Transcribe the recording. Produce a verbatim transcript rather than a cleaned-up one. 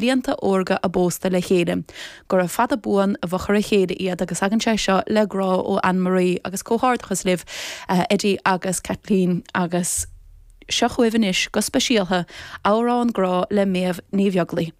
blianta órga a bpósta le chéile. Gura fada buan i bhfochair a chéile iad agus tagann sé seo le grá ó Anne-Marie agus comhghairdeachas libh uh, Eddie agus Kathleen agus seo chugaibh anois go speisialta amhrán grá le Méabh Ní Bheaglaoich.